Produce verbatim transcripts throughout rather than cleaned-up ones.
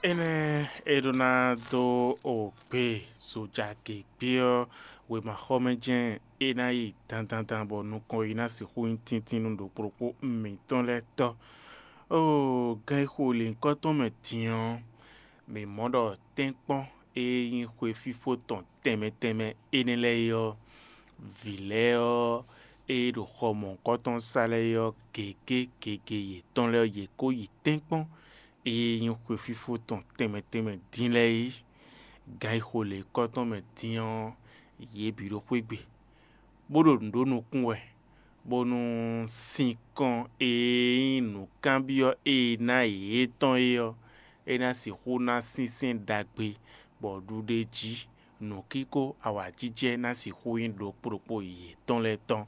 Énɛ́ e ɖó ná dó o gbe zojagěgbé ɔ́, wěmaxɔmɛ jɛ́n é ná yi dandandan bɔ nukɔn yi ná sixú nyí tíntín nú ɖokpó ɖokpó mǐtɔn lɛ́ɛ tɔ́. Oo, gan e xo lěhunkɔtɔn mɛ din ɔ́, mǐ mɔ ɖɔ tɛ́nkpɔ́n e nyí xwefífó tɔn tɛnmɛ tɛnmɛ énɛ́ lɛ́ɛ é ɔ́, vǐ lɛ́ɛ ɔ́, e ɖo xɔ mɔ̌hunkɔtɔn sa lɛ́ɛ é ɔ́, gěgé gěgé yětɔn lɛ́ɛ ɔ́, yě kó yi tɛ́nkpɔ́n e nyí xwefífó tɔn tɛnmɛ tɛnmɛ dín lɛ́ɛ é. Gan e xo lěhunkɔtɔn mɛ din ɔ́, yě bǐ ɖo xwé gbe, bó ɖo nǔ ɖó nukún wɛ, bónú sinkɔn e nyí nǔkanbyɔ́ e è ná yě tɔn é ɔ́, é ná sixú ná sínsɛ́n ɖagbe, bɔ ɖuɖéjí, nǔkíko, awǎjijɛ ná sixú nyí ɖokpó ɖokpó yětɔn lɛ́ɛ tɔn.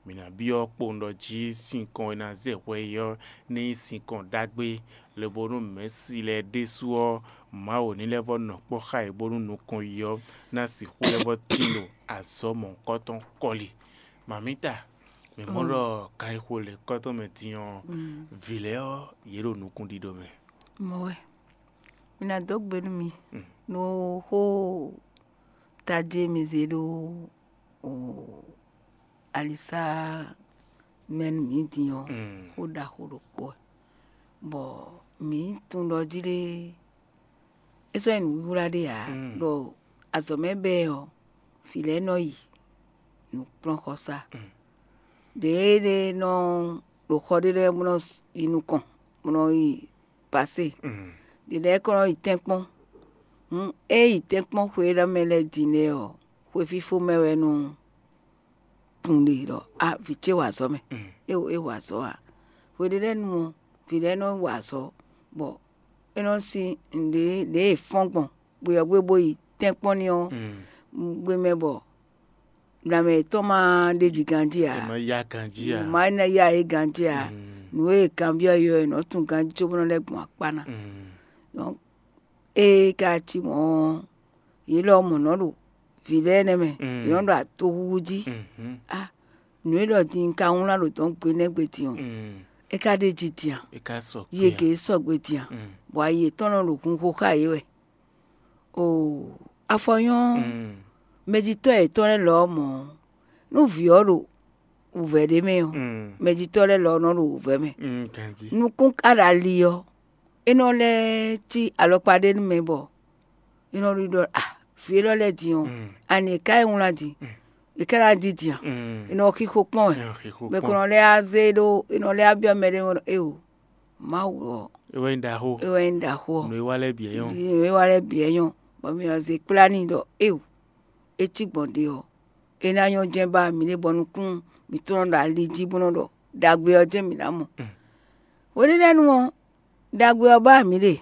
Mǐ ná byɔ́ kpowun ɖɔ jí sinkɔn e ná zɛ hwɛ é ɔ́ ní nyí sinkɔn ɖagbe, lobónú mɛ̌si lɛ́ɛ ɖésú ɔ́, Mawu ní lɛ́ vɔ́ nɔ kpɔ́ xá yě bónú nukɔn yi ɔ́ ná sixú lɛ́ vɔ́ tín ɖo azɔ̌ mɔ̌hunkɔtɔn kɔli. Mamǐta, mǐ mɔ ɖɔ ganxixo lěhunkɔtɔn mɛ din ɔ́, vǐ lɛ́ɛ ɔ́, yě ɖo nukúnɖíɖó mɛ. Mɔ̌ wɛ. Mi ná dó gbe nú mi nú xó tají e mi zé ɖó alisá mɛ nú mǐ din ɔ́, xó ɖaxó ɖokpó wɛ. Bɔ mǐ tunwun ɖɔ jí ɖé, é sɔ́ nyí nǔwiwa ɖé ǎ, ɖɔ azɔ̌ mɛ bɛ́ ɔ́, vǐ lɛ́ɛ nɔ yi nǔkplɔ́nxɔsá. Ɖěeɖée nɔ ɖo xɔ ɖé lɛ́ɛ bó nɔ yi nukɔn, bó nɔ yi pasé. Ɖě lɛ́ɛ kɔn nɔ yi tɛ́nkpɔ́n. Hǔn é yi tɛ́nkpɔ́n xwe e ɖɔ mɛ lɛ́ɛ din lɛ́ɛ ɔ́, xwefífó mɛ wɛ nɔ tunwun ɖe ɖɔ a vǐ ce wa azɔ̌ mɛ. É é wa azɔ̌ ǎ. Hwe ɖé lɛ́ɛ nu ɔ́, vǐ lɛ́ɛ nɔ wa azɔ̌, bɔ é nɔ sin nǔɖé ɖě e è fɔ́n gbɔn gbe ɔ́ gbe bó yi tɛ́nkpɔ́n ní ɔ́ gbe mɛ bɔ nǎmɛ yětɔn ma ɖeji ganjí ǎ. È nɔ yá ganjí ǎ. Má ná yá yě ganjí ǎ. Nǔ e è kanbyɔ́ yě ɔ́, è nɔ tunwun ganjí cóbó nɔ lɛ́ gbɔn akpá ná. Donc ée ka cí mɔ̌ ɔ́, yě lɔ mɔ̌ nɔ ɖo vǐ lɛ́ɛ nɛ́ mɛ, yě nɔ ɖo atoxúxú jí. Á, nǔ e ɖɔ din un ka wlán ɖo dɔ̌n gbe nɛ́ gbe din ɔ́, é ka ɖ'é jí din a? Yě gě sɔgbe din a? Bɔ ayi yětɔn nɔ ɖo hunxo xá yě wɛ. Oo, afɔ nyɔ́ mɛjitɔ́ yětɔn lɛ́ɛ lɔ ɔ́ mɔ̌, nú vǐ ɔ́ ɖo wǔvɛ́ ɖé mɛ ɔ́, mɛjitɔ́ lɛ́ɛ lɔ ɔ́ nɔ ɖo wǔvɛ́ mɛ. Nukún ka ɖo ali ɔ́, é nɔ lɛ́ cí alɔkpa ɖé nú mɛ bɔ é nɔ ɖiɖɔ a vǐ élɔ́ lɛ́ɛ din ɔ́, ani è ká yi wlán din? È ká ná di din a? È nɔ xixo kpɔ́n wɛ. Mɛ ko nɔ lɛ́ á zé ɖó, è nɔ lɛ́ á byɔ́ mɛ ɖé mɔ ɖɔ éeǒ, Mawu ɔ́, é wɛ nyí ɖaxó. É wɛ nyí ɖaxó ɔ́. Nǔ e wa lɛ́ɛ bǐ é nyɔ́. Nǔ e wa lɛ́ɛ bǐ é nyɔ́, bɔ mǐ nɔ zé kplá n'i ɖɔ éeǒ, é cí gbɔn ɖe ɔ́, é ná nyɔ́ jɛ́n ba mǐ ɖe bɔ nukún mǐtɔn nɔ ɖo ali jí bó nɔ ɖɔ ɖagbe ɔ́ jɛ́n mǐ ná mɔ. Hweɖéɖɛ́nu ɔ́, ɖagbe ɔ́ ba mǐ ɖe,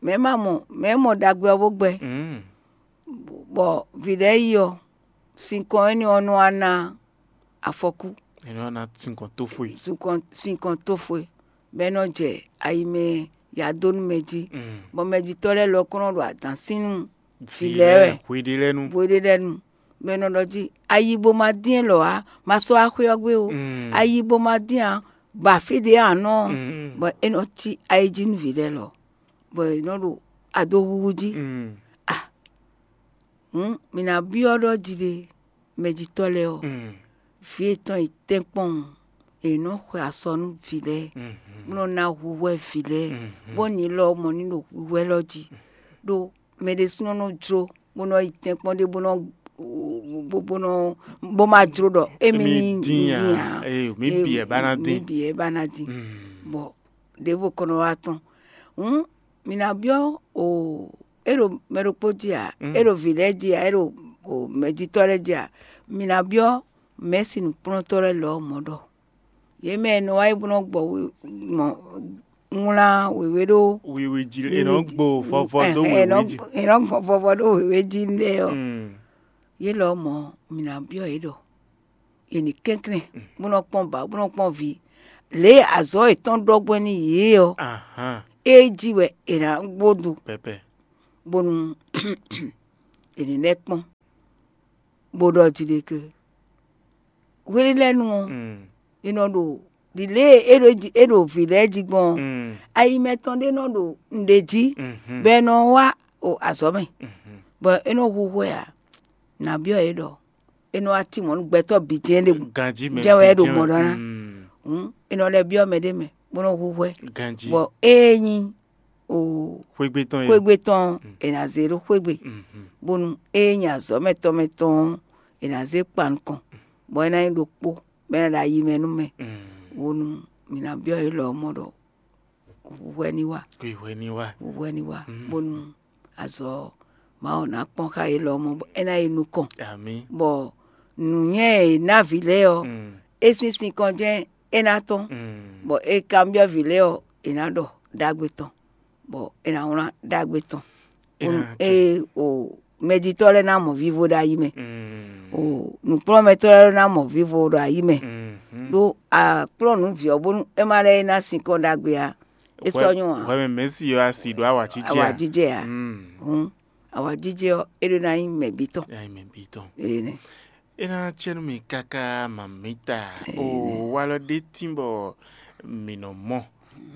mɛ̌ ma mɔ, mɛ̌ mɔ ɖagbe ɔ́ bó gbɛ́, bɔ vǐ lɛ́ɛ yi ɔ́, sinkɔn énɛ́ ɔ́ nɔ wá ná afɔkú. È nɔ ná sinkɔn tófó e. Sinkɔn sinkɔn tófó e, bɔ é nɔ jɛ ayi mɛ ya dó nú mɛ jí, bɔ mɛjitɔ́ lɛ́ɛ lɔ kɔn nɔ ɖo adǎn sín nú vǐ lɛ́ɛ wɛ. Hweɖéɖɛ́nu. Hweɖéɖɛ́nu, bɔ é nɔ ɖɔ jí ayi bo ma dín élɔ́ ǎ, ma sɔ́ wá xwé ɔ́ gbé o. Ayi bo ma dín ǎ, ba fí ɖě a nɔ, bɔ é nɔ cí ayi jí nú vǐ lɛ́ɛ lɔ, bɔ é nɔ ɖo adóhúhú jí. A hǔn mǐ ná byɔ́ ɖɔ jí ɖé, mɛjitɔ́ lɛ́ɛ ɔ́, vǐ yětɔn yi tɛ́nkpɔ́n, è nɔ xwe asɔ nú vǐ lɛ́ɛ, bó nɔ ná hwíhwɛ́ vǐ lɛ́ɛ, bónú yě lɔ mɔ ní ɖo hwíhwɛ́ lɔ jí, ɖó mɛ ɖésúnɔ nɔ jló bó nɔ yi tɛ́nkpɔ́n ɖé bó nɔ bó bó nɔ bó ma jló ɖɔ émí ní dín ǎ. Mǐ bǐ wɛ ba ná dín. Mǐ bǐ wɛ ba ná dín. Bɔ ɖěvo kɔ nɔ wá tɔn. Hǔn mǐ ná byɔ́ o é ɖo mɛ ɖokpó jí ǎ, é ɖo vǐ lɛ́ɛ jí ǎ, é ɖo mɛjitɔ́ lɛ́ɛ jí ǎ. Mǐ ná byɔ́ mɛ̌si nǔkplɔ́ntɔ́ lɛ́ɛ lɔ̌ mɔ̌ ɖɔ yě mɛ e nɔ wá yi bó nɔ gbɔ wlán wěwé ɖó wiwi jí, è nɔ gbo vɔvɔ dó wěwé jí. È nɔ gbɔ vɔvɔ ɖó wěwé jí lɛ́ɛ ɔ́, yě lɔmɔ̌ mǐ ná byɔ́ yě ɖɔ è nǐ kɛnklɛ́n bó nɔ kpɔ́n bǎ bó nɔ kpɔ́n vǐ lě e azɔ̌ yětɔn ɖɔ gbɔn nú yě ɔ́, é jí wɛ è nǎ gbó do bónú è ní lɛ́ kpɔ́n bó ɖɔ jí ɖé ké. Hweɖélɛ́nu ɔ́, è nɔ ɖo ɖi lě e é ɖo jí- é ɖo vǐ lɛ́ɛ jí gbɔn ɔ́, ayi mɛtɔn ɖé nɔ ɖo nǔɖé jí, bɔ è nɔ wá o azɔ̌ mɛ, bɔ é nɔ hu hwɛ ǎ. Nǎ byɔ́ yě ɖɔ é nɔ wá cí mɔ̌ nú gbɛtɔ́ bǐ jɛ́n ɖěbǔ. Ganjí mɛ jɛ́n wɛ é ɖo mɔ ɖɔ ná. Hǔn é nɔ lɛ́ byɔ́ mɛ ɖé mɛ bó nɔ hu hwɛ. Ganjí. Bɔ ée nyí o xwégbé tɔn e xwégbé tɔn ɔ́, è nǎ zé ɖó xwégbé, bónú ée nyí azɔ̌ mɛtɔn mɛtɔn ɔ́, è nǎ zé kpa nukɔn, bɔ é ná nyí ɖokpó, bɔ é ná ɖo ayi mɛ nú mɛ. Bónú mǐ ná byɔ́ yě lɔ mɔ ɖɔ hwɛ ní wa. Hwɛ ní wa. Hwɛ ní wa, bónú azɔ̌ Mawu ná kpɔ́n xá yě lɔ mɔ bɔ é ná yi nukɔn. Amí. Bɔ nǔnywɛ́ e è nǎ vǐ lɛ́ɛ ɔ́, é sín sinkɔn jɛ́n é ná tɔ́n, bɔ è kanbyɔ́ vǐ lɛ́ɛ ɔ́, è nǎ ɖɔ ɖagbe tɔn, bɔ è nǎ wlán ɖagbe tɔn. Ée o mɛjitɔ́ lɛ́ɛ ná mɔ vivo ɖo ayi mɛ, o nǔkplɔ́nmɛtɔ́ lɛ́ɛ ná mɔ vivo ɖo ayi mɛ, ɖó a kplɔ́n nǔ vǐ ɔ́ bónú é má lɛ́ ná sinkɔn ɖagbe ǎ. É sɔ́ nyɔ́ ǎ. Hwɛ mɛ mɛ̌si ɔ́ a si ɖó awǎjijɛ a? Awǎjijɛ ǎ. Hǔn awǎjijɛ ɔ́, é ɖó ná nyí mɛ bǐ tɔn. Nya nyi mɛ bǐ tɔn. Énɛ́. É ná cɛ nú mi káká mamǐta. O walɔ ɖé tín bɔ mǐ nɔ mɔ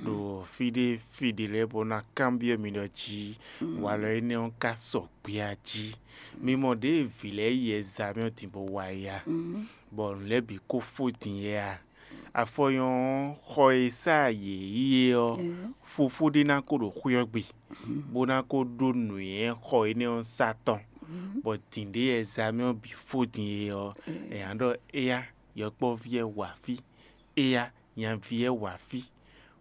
ɖo fí ɖé fí ɖé lɛ́ɛ bó ná kanbyɔ́ mi ɖɔ jí walɔ énɛ́ ɔ́ ka sɔgbe a jí. Mi mɔ ɖěe vǐ lɛ́ɛ yi ɛzamɛ ɔ́ din bó wá yi a, bɔ nǔ lɛ́ɛ bǐ ko fó din yɛ a? Afɔnyɔ ɔ́, xɔ e sá yě yí é ɔ́, fofó ɖé ná ko ɖo xwé ɔ́ gbe, bó ná ko ɖó nǔnywɛ́ xɔ énɛ́ ɔ́ sá tɔn, bɔ dǐndé ɛzamɛ ɔ́ bǐ fó din é ɔ́, è nǎ ɖɔ éyá, yɔkpɔ́ví ɛ wa fí, éyá, nyaví ɛ wa fí.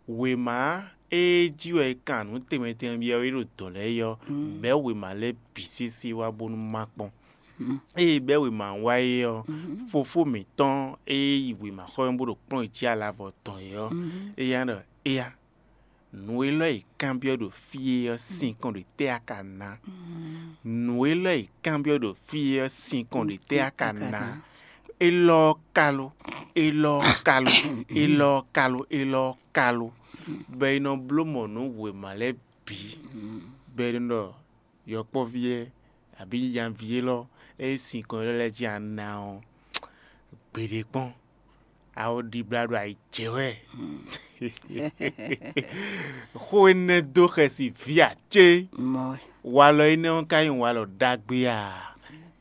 Wěma e jí wɛ è kan nǔ tɛnmɛ tɛnmɛ byɔ́ é ɖo dɔ̌n lɛ́ɛ é ɔ́, bɛ̌ wěma lɛ́ɛ bǐ sésé wá bónú má kpɔ́n. Ée bɛ́ wěma ɔ́ wá é ɔ́, fofó mǐtɔn e yi wěmaxɔ́ ɔ́ bó ɖo kplɔ́n jí alavɔ tɔn é ɔ́, éyá ɖɔ: Éyá, nǔ élɔ́ e è kanbyɔ́ ɖo fí é ɔ́ sín kɔn ɖo tɛ́ a ka ná? Nǔ élɔ́ e è kanbyɔ́ ɖo fí é ɔ́ sín kɔn ɖo tɛ́ a ka ná? Élɔ́ ɔ́ ka lo, élɔ́ ɔ́ ka lo, élɔ́ ɔ́ ka lo, élɔ́ ɔ́ ka lo, bɔ è nɔ bló mɔ nǔ wěma lɛ́ɛ bǐ, bɔ è nɔ ɖɔ yɔkpɔ́ví ɛ abǐ nyaví élɔ́ e sín kɔn élɔ́ lɛ́ɛ jí a ná ɔ́, gbeɖé kpɔ́n, a ó ɖibla ɖo ayi jɛ wɛ. Xó énɛ́ dó xɛsi vǐ ǎ cé? Walɔ énɛ́ ɔ́ ka nyí walɔ ɖagbe a?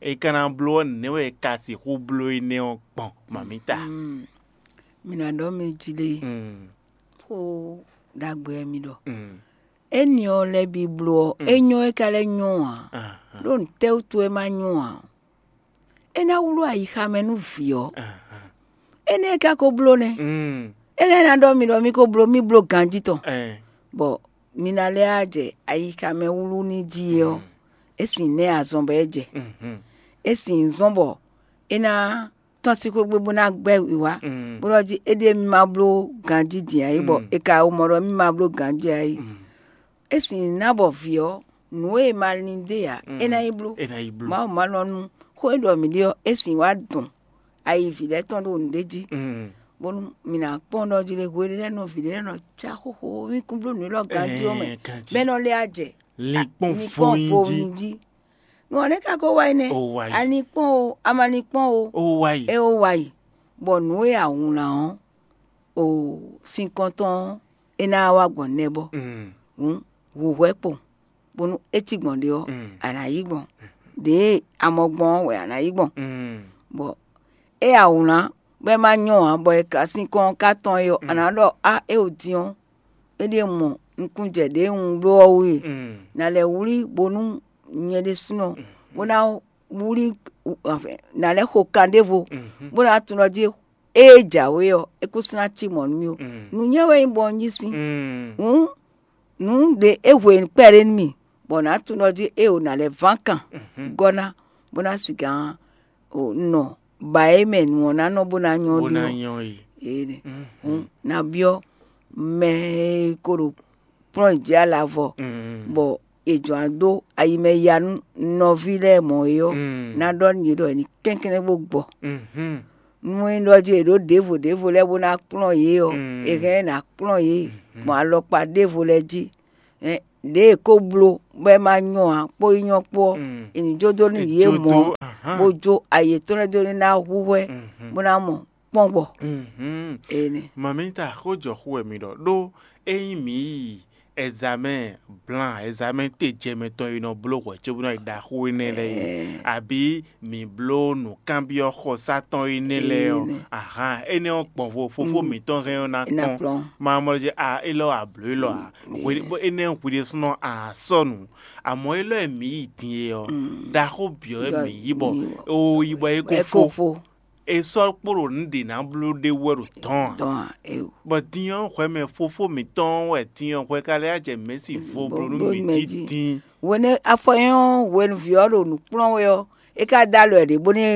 È ka ná bló ɔ́, nɛ̌ wɛ è ka sixú bló énɛ́ ɔ́ gbɔn, mamǐta? Mi ná ɖɔ mɛ jí lé, xó ɖagbe wɛ mi ɖɔ. Éni ɔ́ lɛ́ɛ bǐ bló ɔ́, é nyɔ́ é ka lɛ́ nyɔ́ ǎ. Ɖó nǔtɛ́wútu é ma nyɔ́ ǎ? É ná wlú ayixa mɛ nú vǐ ɔ́. Énɛ́ é ka ko bló nɛ́. É lɛ́ ná ɖɔ mi ɖɔ mì ko bló mì bló ganjí tɔn, bɔ mi ná lɛ́ wá jɛ ayixa mɛ wlú ní jí é ɔ́, é sin nɛ́ azɔn bɔ é jɛ. É sin zɔ́n bɔ é ná tɔ́n sín xwé gbe bó ná gbɛ́ wǐwá, bó ɖɔ jí éɖée mì ma bló ganjí din ǎ é, bɔ è ka mɔ ɖɔ mì ma bló ganjí ǎ é. É sin ná bɔ vǐ ɔ́, nǔ e ma lin dó e ǎ, é ná yi bló. Mawu ma nɔ nú xó e ɖɔ mǐ ɖe ɔ́, é sin wá dɔn ayi vǐ lɛ́ɛ tɔn ɖo nǔɖé jí, bónú mǐ ná kpɔ́n ɖɔ jí lé hwe ɖé lɛ́ɛ nɔ vǐ ɖé lɛ́ɛ nɔ cá xóxó mì kún bló nǔ élɔ́ ganjí ɔ́ mɛ, bɔ é nɔ lɛ́ wá jɛ linkpɔ́n linkpɔ́n voyin jí. Voyin jí. Nǔ ɔ́ nɛ́ ka ko wá yi nɛ́. Ó wá yi. A ni kpɔ́n o, a ma ni kpɔ́n o, ó wá yi. É ó wá yi, bɔ nǔ e a wlǎn ɔ́, o sinkɔn tɔn ɔ́, é ná wá gbɔn nɛbɔ. Hǔn hu hwɛ kpɔn, bónú é cí gbɔn ɖe ɔ́, a nǎ yí gbɔn. Ɖěe a mɔ gbɔn ɔ́ wɛ a nǎ yí gbɔn. Bɔ é a wlǎn bɔ é ma nyɔ́ ǎ, bɔ è ka sinkɔn ɔ́ ka tɔn é ɔ́, a nǎ ɖɔ á, é o din ɔ́, é ɖíe mɔ nukúnjɛ ɖě un bló ɔ́ wú e. Nǎ lɛ́ wlí bónú nyɛ ɖésúnɔ bó ná wlí, nǎ lɛ́ xo kan ɖěvo, bó ná tunwun ɖɔ jí ée jǎwe ɔ́, é kún sɔ́ ná cí mɔ̌ nú mì ó. Nǔnywɛ́ wɛ nyí bɔ un yí sín. Hǔn nǔ ɖě é hwe kpɛɖé nú mì, bɔ nǎ tunwun ɖɔ jí é o nǎ lɛ́ ván kan gɔ́ ná, bó ná sigǎn nɔ ba e mɛ nǔ ɔ́ ná nɔ bó ná nyɔ́ bó ná ɖó. Nyɔ́ yi. Ee, hǔn ná byɔ́ mɛ e ko ɖo kplɔ́n jí alavɔ, bɔ è jɔ̌n dó ayi mɛ ya nú nɔví lɛ́ɛ mɔ̌ é ɔ́, ná ɖɔ nú yě ɖɔ è ní kɛnklɛ́n bó gbɔ. Nú é ɖɔ jí è ɖǒ ɖěvo ɖěvo lɛ́ɛ bó ná kplɔ́n yě ɔ́, è hɛn ná kplɔ́n yě gbɔn alɔkpa ɖěvo lɛ́ɛ jí. Ɖě è ko bló bɔ é ma nyɔ́ ǎ kpó yi nyɔ́ kpó ɔ́, è nǐ jó dó nú yě mɔ̌, bó jó ayi yětɔn lɛ́ɛ dó ní ná hu hwɛ, bó ná mɔ kpɔ́n gbɔ. Énɛ́. Mamita, xó jɔ xú wɛ mi ɖɔ ɖó ényí mǐ yi ɛzamɛ blan ɛzamɛ te jɛ mɛtɔn e nɔ bló hwɛ̌ cóbó nɔ yi ɖaxó énɛ́ lɛ́ɛ é, abǐ mǐ bló nǔkanbyɔ́ xɔsá tɔn énɛ́ lɛ́ɛ ɔ́, ahan énɛ́ ɔ́ gbɔn vo fofó mǐtɔn hɛn ɔ́ ná kpɔ́n. Má mɔ jɛ a élɔ́ a blǒ élɔ́ a, énɛ́ hwi ɖésúnɔ a sɔ́ nǔ. Amɔ̌ élɔ́ e mǐ yi din é ɔ́, ɖaxó byɔ̌ wɛ mǐ yí bɔ o yí bɔ é ko fó. È sɔ́ kpo ɖo nǔ ɖě ná bló ɖé wú wɛ ɖo dɔ̌n ǎ. Bɔ din ɔ́ hwɛ mɛ fofó mǐtɔn wɛ din ɔ́ hwɛ ka lɛ́ jɛ mɛ̌si vo bló nú mǐ jí din. Hwenu afɔ nyɔ́ hwenuví ɔ́ ɖo nǔ kplɔ́n wɛ ɔ́, é ka dó alɔ ɛ ɖě bónú é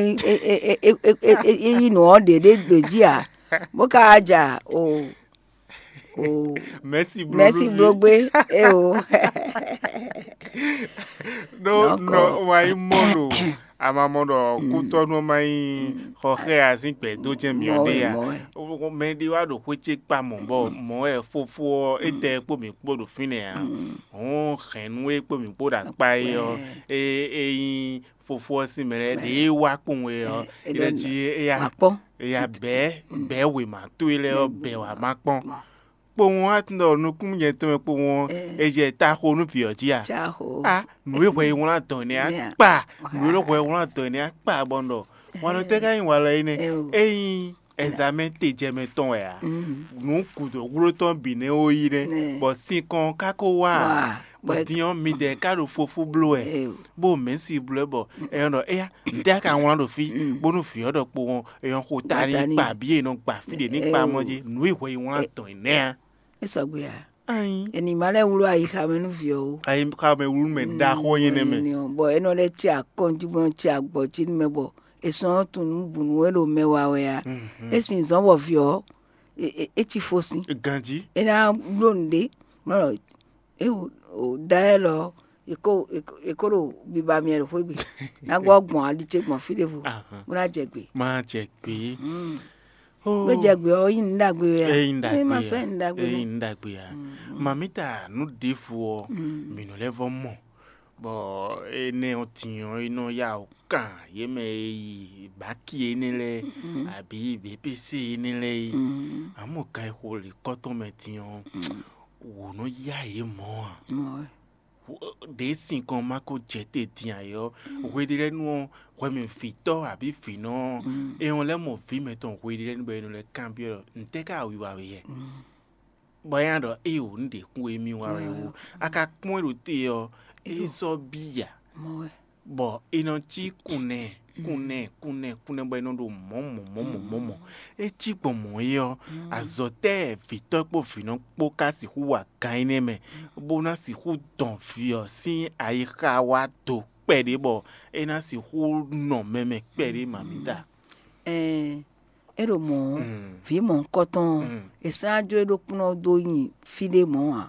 yí nǔ ɔ́ ɖě ɖé ɖo jí ǎ, bó ka wá ja o. Mɛ̌si bló mɛ̌si nú mì. Bló gbé. É o. Ɖó nɔ wá nyí mɔ ɖo amamɔ ɖɔ kútɔ́nú ɔ́ ma nyí xɔ xɛ azín gbɛ dó jɛ́n mǐ ɔ́ ɖe ǎ. Mɛ ɖé wá ɖo xwé ce kpa mɔ̌ bɔ mɔ̌ wɛ fofó ɔ́ étɛ́ kpó mǐ kpó ɖo fínɛ́ ǎ. Hɔn hɛ̌nnu e kpó mǐ kpó ɖo akpá é ɔ́, é é nyí fofó ɔ́ sín mɛ lɛ́ɛ ɖě e wá kpowun é ɔ́, é ɖɔ jí éyá wá kpɔ́n. Éyá bɛ̌ bɛ̌ wěma towe lɛ́ɛ ɔ́ bɛ̌ wá má kpɔ́n. Kpowun wá tunwun ɖɔ nukúnnú jɛ tɔn mɛ kpowun ɔ́, é jɛ ta xo nú vǐ ɔ́ jí a? Caxo. A nǔ e hwɛ yi wlán dɔn nɛ́ á kpa, nǔ e hwɛ yi wlán dɔn nɛ́ á kpa bɔ un ɖɔ wan nɔ tɛ́ ká nyí walɔ énɛ́? Ényí ɛzamɛ te jɛ mɛ tɔn wɛ ǎ, nǔ gǔdo wló tɔn bǐ nɛ́ ó yí nɛ́, bɔ sinkɔn ká kó wá ǎ. Bɔ din ɔ́, midɛɛ ká ɖo fofú bló wɛ, bó mɛ̌si bló wɛ bɔ è nɔ ɖɔ éyá, ntɛ́ a ka wlán ɖo fí, bónú vǐ ɔ́ ɖɔ kpowun ɔ́, è nɔ xo ta n'i kpa bǐ e nɔ gba fí ɖě ní kpa mɔ jí, nǔ e hwɛ yi wlán dɔn ɛ nɛ́ ǎ. É sɔgbe ǎ. Anyi. È nǐ ma lɛ́ wlú ayixa mɛ nú vǐ ɔ́ ó. Ayixa mɛ wlú mɛ ɖaxó nyí nɛ́ mɛ. Bɔ é nɔ lɛ́ cí akɔ́njí bó nɔ cí agbɔ̌ jí nú mɛ bɔ è sɔ́ nɔ́ tunwun nǔ bǔ nú é ɖo mɛ wa wɛ a? É sin zɔ́n bɔ vǐ ɔ́, é cí fó sín. Ganjí. É ná bló nǔɖé, mɔ é da ɛ lɔ, è kó è kó ɖo biba myɛ ɖo xwé gbe. Ná gbɔ gbɔn ali ce gbɔn fí ɖěvo, bó ná jɛ gbě. Má jɛ gbě. Gbé jɛ gbě ɔ́, yí nǔ ɖagbe wɛ a? Ényí nǔ ɖagbe ma sɔ́ yí nǔ ɖagbe ényí nú. Nǔ ɖagbe a? Mamita nǔ ɖěvo ɔ́, mǐ nɔ lɛ́ vɔ mɔ, bɔ énɛ́ ɔ́ din ɔ́, é nɔ yá wǔ kan yě mɛ e yi bǎki énɛ́ lɛ́ɛ, abǐ B P C énɛ́ lɛ́ɛ é. Amɔ̌ kan e xo lǐkɔ́ tɔn mɛ din ɔ́, wǒ nɔ yá yě mɔ̌ a? Ɖě sinkɔn ma ko jɛ te din ǎ é ɔ́, hweɖélɛ́nu ɔ́, hwɛmɛvǐtɔ́ abǐ vǐnɔ ɔ́, é ɔ́ lɛ́ mɔ vǐ mɛtɔn hweɖélɛ́nu bɔ é nɔ lɛ́ kanbyɔ́ ɖɔ: "Ntɛ́ ká wiwa we yɛ?" Bɔ é nya ɖɔ: "Éeǒ, un ɖe kún émí wa wɛ ó. A ka kpɔ́n é ɖo te ɔ́, é sɔ́ bí ǎ." Bɔ è nɔ cí kunnɛ kunnɛ kunnɛ kunnɛ bɔ è nɔ ɖo mɔ̌ mɔ̌ mɔ̌ mɔ̌ mɔ̌ mɔ̌. É cí gbɔn mɔ̌ é ɔ́, azɔ̌ tɛ́ vǐtɔ́ kpó vǐnɔ kpó ka sixú wa gan énɛ́ mɛ, bó ná sixú dɔn vǐ ɔ́ sín ayixa wá do kpɛɖé bɔ é ná sixú nɔ mɛ mɛ kpɛɖé mamita? Ɛn, é ɖo mɔ̌ ɔ́, vǐ mɔ̌hunkɔtɔn ɔ́, è sɛ́n ajó é ɖokpónɔ dó nyi fí ɖé mɔ̌ ǎ.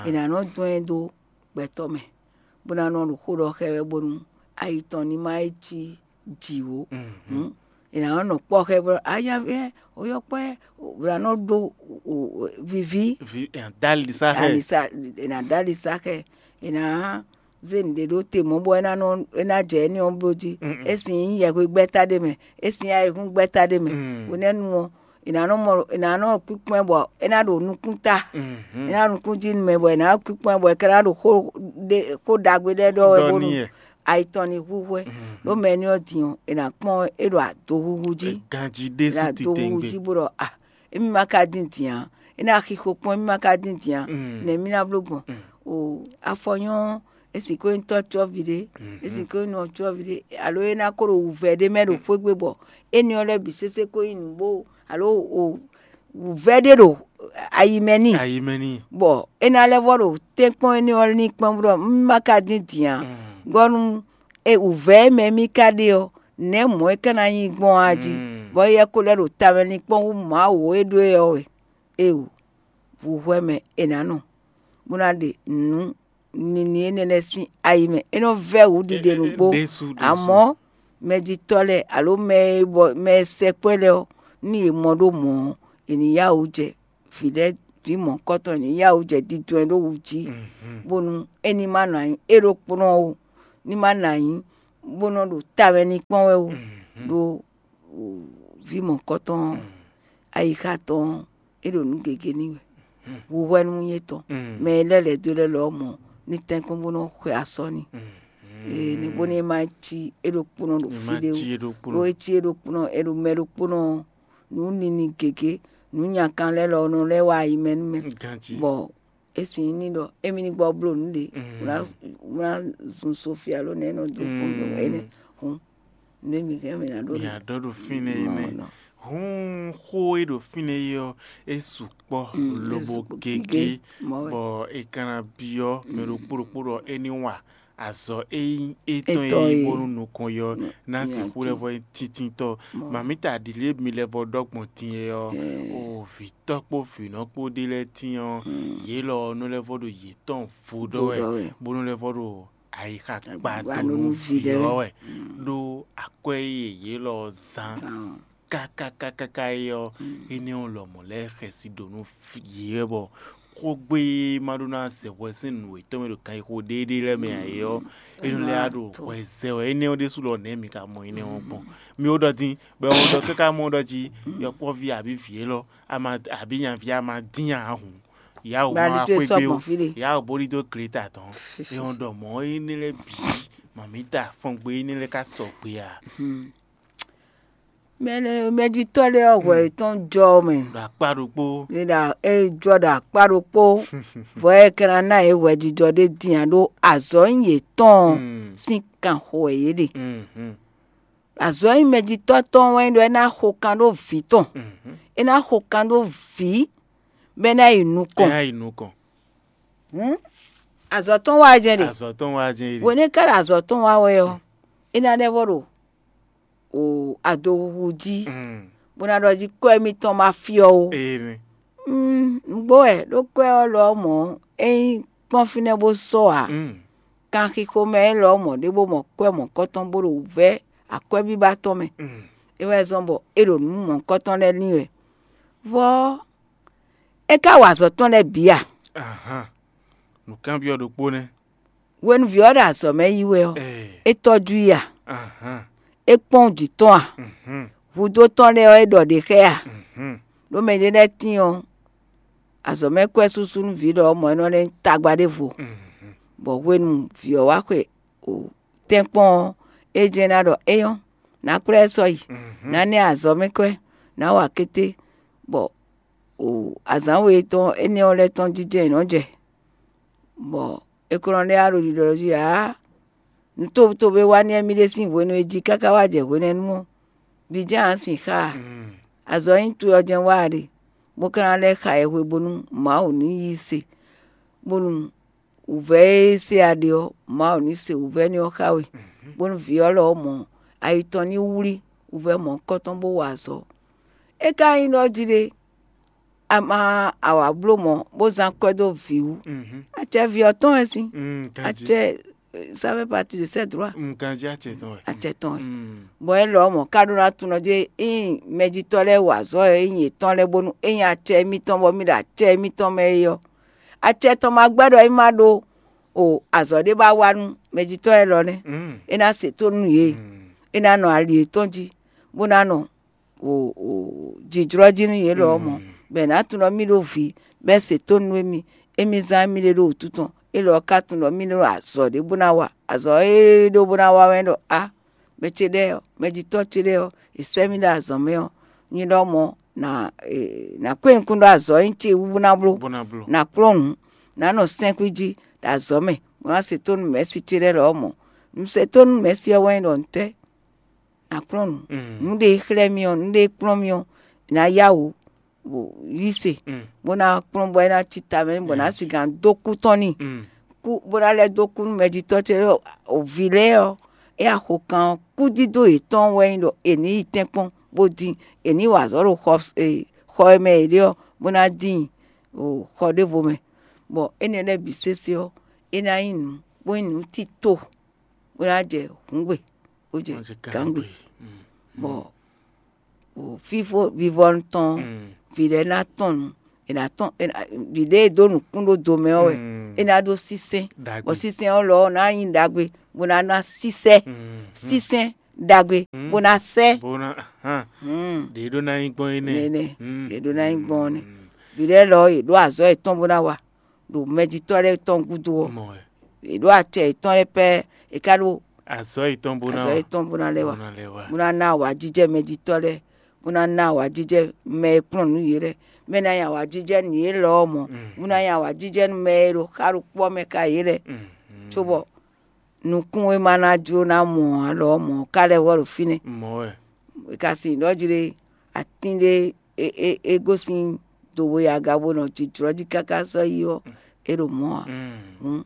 È nǎ nɔ dɔn ɛ dó gbɛtɔ́ mɛ, bó ná nɔ ɖo xó ɖɔ xá ɛ wɛ bónú ayi tɔn ní má yi cí jǐ ó. È nǎ nɔ nɔ kpɔ́ xá ɛ bɔ ayavɛ oyɔkpɔ́ ɛ, è nǎ nɔ ɖó viví. Dali sa xɛ. È nǎ dali sa xɛ. È nǎ zé nǔɖé ɖó te mɔ̌ bɔ é ná nɔ é ná jɛ éní ɔ́ bló jí. É sin nyí yɛhwegbɛ́ta ɖé mɛ, é sin ayihúngbɛ́ta ɖé mɛ. Hwenɛ́nu ɔ́, è nǎ nɔ mɔ è nǎ nɔ kpíkpɔ́n ɛ bɔ é ná ɖo nukún ta. É ná nukún jí nú mɛ bɔ è nǎ kpíkpɔ́n ɛ bɔ è ka ná ɖo xó ɖé xó ɖagbe ɖé ɖɔ wɛ bónú ayi tɔn ní hu hwɛ. Ɖó mɛ éní ɔ́ din ɔ́, è nǎ kpɔ́n é ɖo adohuhu jí. Ganjí ɖésú titewungbe. Adohuhu jí bó ɖɔ a émi ma ka dín din ǎ, é ná xixo kpɔ́n émi ma ka dín din ǎ. Nɛ̌ mì ná bló gbɔn? O afɔ nyɔ́, é sixú nyí tɔ́ cɔ́ví ɖé, é sixú nyí nɔ cɔ́ví ɖé, alo é ná ko ɖo wǔvɛ́ ɖé mɛ ɖo xwé gbe bɔ éní ɔ́ lɛ́ɛ bǐ sésé ko nyí nǔgbó, alo o wǔvɛ́ ɖé ɖo ayi mɛ n'i. Ayi mɛ n'i. Bɔ é ná lɛ́ vɔ ɖo tɛ́nkpɔ́n éní ɔ́ ní kpɔ́n bó ɖɔ: "Un ma ka dín din ǎ." Gɔ́ nú e wǔvɛ́ e mɛ mì ka ɖe ɔ́, nɛ̌ mɔ̌ é ka ná nyí gbɔn á jí, bɔ éyɛ́ ko lɛ́ ɖo tamɛ ní kpɔ́n hú Mawu e ɖó e ɔ́ wɛ? Éeǒ, vǔhwɛ mɛ è nǎ nɔ, bó ná ɖe nǔ nini énɛ́ lɛ́ɛ sín ayi mɛ. É nɔ vɛ́ wǔ ɖiɖe nǔgbó. Amɔ̌, mɛjitɔ́ lɛ́ɛ alo mɛ e bɔ mɛ e sɛkpɔ́ lɛ́ɛ ɔ́, nú yě mɔ ɖó mɔ̌ ɔ́, è nǐ yá wǔ jɛ vǐ lɛ́ɛ vǐ mɔ̌hunkɔtɔn, è nǐ yá wǔ jɛ didɔn e ɖó wǔ jí, bónú é ní ma nɔ anyi é ɖokpónɔ ó, ní ma nɔ anyi bó nɔ ɖo tamɛ ní kpɔ́n wɛ ó, ɖó vǐ mɔ̌hunkɔtɔn ɔ́, ayixa tɔn ɔ́, é ɖo nǔ gěgé n'i wɛ. Hwíhwɛ́nú nyí étɔn. Mɛ e lɛ́ lɛ̌ dó lɛ́ lɔ ɔ́ mɔ ní tɛ́nkpɔ́n bó nɔ́ xwe asɔ n'i. Ee, ní bónú é má cí é ɖokpónɔ ɖo fí ɖé ó. Ɖó é cí é ɖokpónɔ, é ɖo mɛ ɖokpónɔ ɔ́, nǔ nini gěgé, nǔ nyakan lɛ́ɛ lɔ nɔ lɛ́ wá ayi mɛ nú mɛ. Bɔ é sin ní ɖɔ émí ní gbɔ bló nǔ ɖě, wlá zun Sofia ló nɛ́ nɔ dó fún mì wɛ énɛ́. Hǔn nǔ e mǐ hɛn mǐ ná ɖó mǐ ná ɖɔ ɖo fínɛ́ é nɛ́. Hǔn xó e ɖo fínɛ́ é ɔ́, é sukpɔ́ lobo gégé, bɔ è ka ná byɔ́ mɛ ɖokpó ɖokpó ɖɔ é ní wa azɔ̌ e nyí étɔn é nyí bónú nukɔn yɔ ná sixú lɛ́ vɔ nyí tíntítɔ́. Mamǐta ɖǐlé mi lɛ́ vɔ ɖɔ gbɔn din é ɔ́, o vǐtɔ́ kpó vǐnɔ kpó ɖé lɛ́ɛ tín ɔ́, yě lɔ ɔ́ nɔ lɛ́ vɔ ɖo yětɔn vodɔ wɛ, bónú lɛ́ vɔ ɖo ayixa kpa dó nú vǐ ɔ́ wɛ, ɖó akwɛ́ e yě lɔ ɔ́ zán kákákákáká é ɔ́, énɛ́ ɔ́ lɔmɔ̌ lɛ́ xɛsi ɖo nú yě wɛ bɔ xógbe e ma ɖó ná zɛ hwɛ sín nǔ yětɔn mɛ ɖo ganxixo ɖéeɖée lɛ́ɛ mɛ ǎ é ɔ́, é nɔ lɛ́ wá ɖo hwɛ zɛ wɛ. Énɛ́ ɔ́ ɖésú lɔ nɛ̌ mi ka mɔ énɛ́ ɔ́ gbɔn? Mi ó ɖɔ dín, bɔ é wɔ ɖɔ káká mɔ ɖɔ jí yɔkpɔ́ví abǐ vǐ élɔ́ a ma abǐ nyaví a ma dín nya ǎ hǔn, yǎwǔ ma wá xwé gbé ó, yǎwǔ bó ɖidó gleta tɔn. É wɔn ɖɔ mɔ̌ énɛ́ lɛ́ɛ bǐ, mamǐta fɔngbe énɛ́ lɛ́ɛ ka sɔgbe a? Mɛ lɛ́ɛ mɛjitɔ́ lɛ́ɛ ɔ́, hwɛ yětɔn jɔ ɔ́ mɛ. Ɖo akpá ɖokpó. È ɖo é jɔ ɖo akpá ɖokpó. Vɔ é ka ná ná yě hwɛjijɔ ɖé din ǎ, ɖó azɔ̌ nyí yětɔn ɔ́ sín kan xo wɛ yě ɖe. Azɔ̌ nyí mɛjitɔ́ tɔn wɛ nyí ɖɔ é ná xo kan ɖó vǐ tɔn. É ná xo kan ɖó vǐ bɔ é ná yi nukɔn. Ɛ yi nukɔn. Hǔn azɔ̌ tɔn wá jɛ́n ɖe. Azɔ̌ tɔn wá jɛ́n ɖe. Hwenu e é ka ɖo azɔ̌ tɔn wá wɛ ɔ́, é ná ɖɛ́vɔ́ ɖo o adohuhu jí, bó ná ɖɔ jí kɔ́ émítɔn ma fyɔ́ ó. Nǔgbó wɛ ɖó kɔ́ ɔ́ lɔ ɔ́ mɔ̌, é nyí kpɔ́n fínɛ́ bó sɔ́ ǎ. Kanxixo mɛ élɔ́ mɔ̌ ɖé bó mɔ kɔ́ mɔ̌kɔ́tɔn bó ɖo wǔvɛ́ akwɛ́bíbá tɔn mɛ. É wɛ zɔ́n bɔ é ɖo nǔ mɔ̌kɔ́tɔn lɛ́ɛ lin wɛ. Vɔ́ é ka wa azɔ̌ tɔn lɛ́ɛ bǐ a? Nǔkanbyɔ́ ɖokpó nɛ́. Hwenuví ɔ́ ɖo azɔ̌ mɛ yi wɛ ɔ́, é tɔ́jú i a? É kpɔ́n jǐ tɔn a? Hudó tɔn lɛ́ɛ ɔ́, é ɖɔ ɖě xá ɛ a? Ɖó mɛ ɖé lɛ́ɛ tíin ɔ́, azɔ̌ mɛ kwɛ́ súsú nú vǐ ɖɔ mɔ̌ é nɔ lɛ́ nyí tagba ɖěvo, bɔ hwenu vǐ ɔ́ wá xwe tɛ́nkpɔ́n ɔ́, é jɛ́n ná ɖɔ é nyɔ́, nǎ kplá ɛ sɔ́ yi, nǎ nɛ́ azɔ̌ mɛ kwɛ́, nǎ wa kété, bɔ azǎn we tɔn énɛ́ ɔ́ lɛ́ɛ tɔn jínjɔ́n è nɔ́ jɛ, bɔ é kɔn nɔ lɛ́ wá ɖo ɖiɖɔ jí ǎ. Nǔ tobutóbú e wá n'i wɛ mì ɖe sín hwenu e jí káká wá jɛ hwenɛ́nu ɔ́, vǐ jɛ́n ǎ sin xá a? Azɔ̌ nyí towe ɔ́ jɛ́n wá a ɖe, bó ka ná lɛ́ xa yɛhwe bónú Mawu ní yí se, bónú wǔvɛ́ e se a ɖe ɔ́, Mawu ní se wǔvɛ́ n'i ɔ́ xá we, bónú vǐ ɔ́ lɔ ɔ́ mɔ ayi tɔn ní wlí wǔvɛ́ mɔ̌hunkɔtɔn bó wa azɔ̌. É ka nyí ɖɔ jí ɖé, a ma a wǎ bló mɔ̌ bó zán kwɛ́ dó vǐ wú. Acɛ vǐ ɔ́ tɔn wɛ sín. Acɛ ça fait partie de ses droits. Ganjí acɛ tɔn wɛ. Acɛ tɔn wɛ. Bɔ é lɔ mɔ̌ ka ɖó ná tunɔ jí ényí mɛjitɔ́ lɛ́ɛ wa azɔ̌ e nyí yětɔn lɛ́ɛ bónú ényí acɛ émítɔn bɔ mì ɖo acɛ émítɔn mɛ é ɔ́, acɛ tɔn ma gbɛ́ ɖɔ é má ɖó o azɔ̌ ɖé ba wa nú mɛjitɔ́ lɛ́ɛ lɔ nɛ́. É ná se tónú nú yě. É ná nɔ ali yětɔn jí, bó ná nɔ jǐjlɔ́ jí nú yě lɔ ɔ́ mɔ̌, bɔ è nǎ tunwun ɖɔ mì ɖó vǐ, bɔ é se tónú nú émí, émí zán émí ɖé ɖo wǔtu tɔn. É lɔ ɔ́ ka tunwun ɖɔ mì ɖó azɔ̌ ɖé bó ná wa. Azɔ̌ e ɖó bó ná wa wɛ ɖɔ á, mɛ ce ɖɛ́ɛ ɔ́, mɛjitɔ́ ce ɖɛ́ɛ ɔ́, è sɛ́ mì ɖo azɔ̌ mɛ ɔ́, nyi ɖɔ mɔ̌ nǎ nǎ kpé nukún ɖó azɔ̌ e nyí ce wú bó ná bló, nǎ kplɔ́n nǔ, nǎ nɔ sɛ́nkún jí ɖo azɔ̌ mɛ, bó ná se tónú mɛ̌si ce lɛ́ɛ lɔ ɔ́ mɔ̌. Nǔ se tónú mɛ̌si ɔ́ wɛ nyí ɖɔ ntɛ́? Nǎ kplɔ́n nǔ. Nǔ ɖé e xlɛ́ mì ɔ́, nǔ ɖé e kplɔ́n mì ɔ́, è nǎ yá wǔ yí se, bó ná kplɔ́n bɔ é ná cí tamɛ, bɔ nǎ sigǎn dó kú tɔn n'i. Kú bó ná lɛ́ dó kú nú mɛjitɔ́ ce lɔ vǐ lɛ́ɛ ɔ́, é axo kan ɔ́, kúdídó yětɔn wɛ nyí ɖɔ è nǐ yi tɛ́nkpɔ́n bó dín, è nǐ wa azɔ̌ ɖo xɔ xɔ e mɛ è ɖe ɔ́, bó ná dín xɔ ɖěvo mɛ, bɔ énɛ́ lɛ́ɛ bǐ sésé ɔ́, é ná nyí nǔ bó nyí nǔ tito, bó ná jɛ hǔngbe, bó jɛ gǎngbe, bɔ fífó vivɔnu tɔn vǐ lɛ́ɛ ná tɔn nǔ, è nǎ tɔn ɖiɖe e dó nǔkún ɖó do mɛ ɔ́ wɛ, é ná ɖó sínsɛ́n, bɔ sínsɛ́n ɔ́ lɔ ɔ́ ná nyí ɖagbe, bó ná ná sísɛ́, sínsɛ́n ɖagbe, bó ná sɛ́. Bó ná hàn Hmm. Ɖě ɖó ná nyí gbɔn énɛ́. Nɛnɛ, Mm, ɖě ɖó ná nyí gbɔn ɔ́ nɛ́. Mm. Vǐ lɛ́ɛ lɔ ɔ́, yě ɖó azɔ̌ yětɔn bó ná wa ɖo mɛjitɔ́ lɛ́ɛ tɔn gúdo ɔ́. Mɔ wɛ. Yě ɖó acɛ yětɔn lɛ́ɛ pɛ́, è ka ɖó Azɔ̌ yětɔn bó ná azɔ̌ wa. Yětɔn bó ná lɛ́ wa. Bó ná lɛ́ wa. Bó ná ná awǎjijɛ mɛjitɔ́ lɛ́ɛ, bó ná ná awǎjijɛ mɛ e kplɔ́n nǔ yě lɛ́ɛ, mɛ e ná nyí awǎjijɛ nú yě lɔ ɔ́ mɔ̌, Mm. bó ná nyí awǎjijɛ nú mɛ e ɖo xá ɖokpó ɔ́ mɛ ka yě lɛ́ɛ. Mm, mm. Cóbɔ nukún e ma ná jló ná mɔ ǎ lɔ ɔ́ mɔ̌ ká lɛ́ vɔ ɖo fínɛ́. Mɔ̌ wɛ. È ka sin ɖɔ jí ɖé atín ɖé é é é gosín do we aga bó nɔ jijlɔ́ jí káká sɔ́ yi ɔ́, é ɖo mɔ̌ ǎ. Mm. Hǔn